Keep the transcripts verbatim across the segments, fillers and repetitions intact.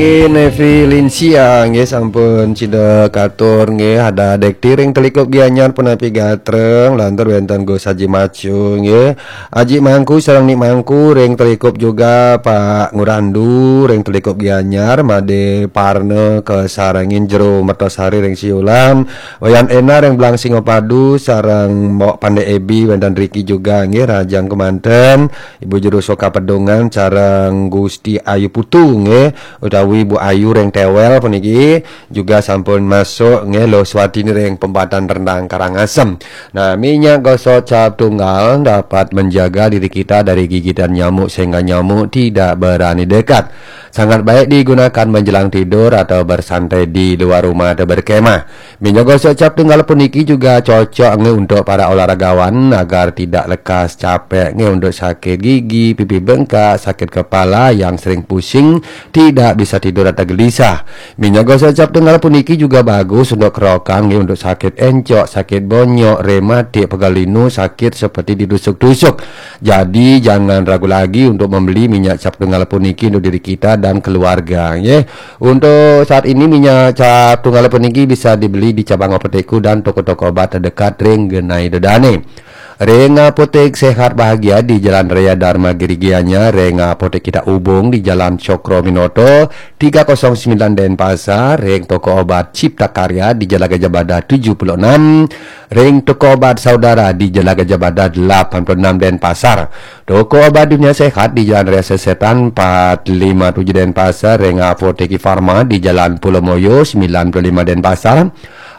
Nevi Linsia nggih, sampun sida katur nggih, ada Dekti ring Telikup Gianyar punapi gatreng, lantur wénten Gus Haji Macu nggih. Aji Mangku sareng Ni Mangku ring Telikup juga, Pak Ngurandu ring Telikup Gianyar, Made Parna kasarengin Jero Mertosari ring Siulan, Wayan Ena ring Belang Singapadu sareng Mbok Pande Ebi wénten riki juga nggih, rahajeng kemanten. Ibu Juru Soka Pedungan sareng Gusti Ayu Putu nggih, utawi Bu Ayu ring Tewel puniki juga sampun masuk nggih, Luh Swatini ring Pembatan Rendang Karangasem. Nah, minyak gosok cap tunggal dapat menjaga diri kita dari gigitan nyamuk sehingga nyamuk tidak berani dekat. Sangat baik digunakan menjelang tidur atau bersantai di luar rumah atau berkemah. Minyak gosok cap tunggal puniki juga cocok nggih untuk para olahragawan agar tidak lekas capek nggih, untuk sakit gigi, pipi bengkak, sakit kepala, yang sering pusing, tidak bisa tidur atau gelisah. Minyak gosok cap tunggal puniki juga bagus untuk kerokan nggih, untuk sakit encok, sakit bonyok, rematik, pegal linu, sakit seperti ditusuk-tusuk. Jadi jangan ragu lagi untuk membeli minyak cap tunggal puniki untuk diri kita dan keluarga nggih. Untuk saat ini minyak cap tunggal puniki bisa dibeli di cabang apotekku dan toko-toko obat terdekat ring genai dedane. Ring Apotek Sehat Bahagia di Jalan Raya Dharma Giri Gianyar, ring Apotek Kita Ubung di Jalan Cokro Minoto tiga kosong sembilan Denpasar, ring toko obat Cipta Karya di Jalan Gajah Mada tujuh puluh enam, ring toko obat Saudara di Jalan Gajah Mada delapan puluh enam Denpasar. Toko obat Dunia Sehat di Jalan Raya Sesetan empat lima tujuh Denpasar, ring Apotek Farma di Jalan Pulau Moyo sembilan puluh lima Denpasar,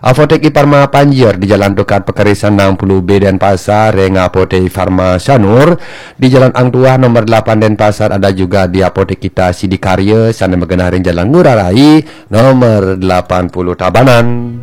Apotek Farma Panjer di Jalan Tukad Pekerisan enam puluh B Denpasar, ring Apotek Farma Sanur di Jalan Ang Tuah nomor delapan Denpasar, ada juga di Apotek Kita Sidikarya, sana magenah ring Jalan Ngurah Rai nomor delapan puluh Tabanan.